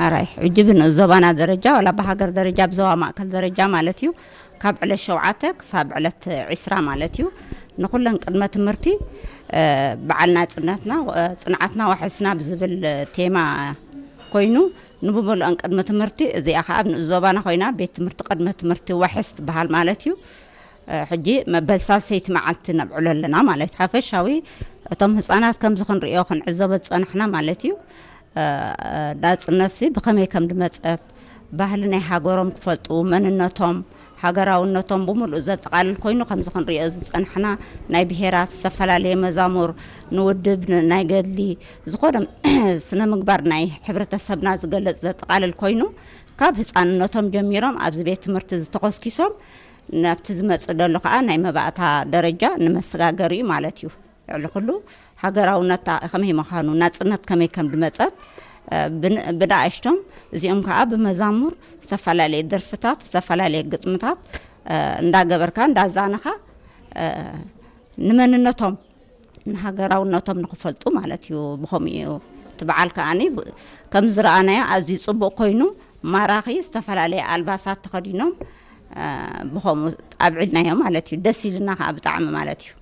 ኣራይ ሕጂ ብንኡስ ዞባና ደረጃ ዋላ ብሃገር ደረጃ ብዞባ ማእከል ደረጃ ማለት እዩ ካብ ዕለት ሸውዓተ ክሳብ ዕለት ዒስራ ማለት እዩ ንኩለን ቅድመ ትምህርቲ በዓል ናጽነትና ጽንዓትና ዋሕስና ብዝብል ቴማ ኮይኑ ንብምልኦን ቅድመ ትምህርቲ እዚኣ ከዓ ኣብ ንኡስ ዞባና ኮይና ቤት ትምህርቲ ቅድመ ትምህርቲ ዋሕስ ትበሃል ማለት እዩ። ሕጂ መበል ሳልሰይቲ መዓልቲ ነብዕሎ ኣለና ማለት ሓፈሻዊ እቶም ህፃናት ከምዚ ክንሪኦ ክንዕዘቦ ዝፀናሕና ማለት እዩ። ናፅነትሲ ብኸመይ ከም ድመፀት ባህሊ ናይ ሃገሮም ክፈልጡ መንነቶም ሃገራውነቶም ብምሉእ ዘጠቓልል ኮይኑ ከምዚ ክንሪኦ ዝፀናሕና ናይ ብሄራት ዝተፈላለየ መዛሙር ንውድብ ናይ ገድሊ ዝኾነ ስነ ምግባር ናይ ሕብረተሰብና ዝገልፅ ዘጠቓልል ኮይኑ ካብ ህፃንነቶም ጀሚሮም ኣብዚ ቤት ትምህርቲ ዝተኾስኪሶም ናብቲ ዝመፅእ ደሎ ከዓ ናይ መባእታ ደረጃ ንመሰጋገሪ እዩ ማለት እዩ። ልዕሊ ኩሉ ሃገራውነታ ከመይ ምዃኑ ናፅነት ከመይ ከም ድመፀት ብንኣሽቶም እዚኦም ከዓ ብመዛሙር ዝተፈላለየ ደርፍታት ዝተፈላለየ ግጥምታት እንዳገበርካ እንዳዛነኻ ንመንነቶም ንሃገራውነቶም ንክፈልጡ ማለት እዩ። ብኸምኡ እዩ እቲ በዓል ከዓኒ ከም ዝረኣናዮ ኣዝዩ ፅቡቅ ኮይኑ ማራኺ ዝተፈላለየ ኣልባሳት ተኸዲኖም ብኸምኡ ኣብዒልናዮ ማለት እዩ። ደስ ኢልና ከዓ ብጣዕሚ ማለት እዩ።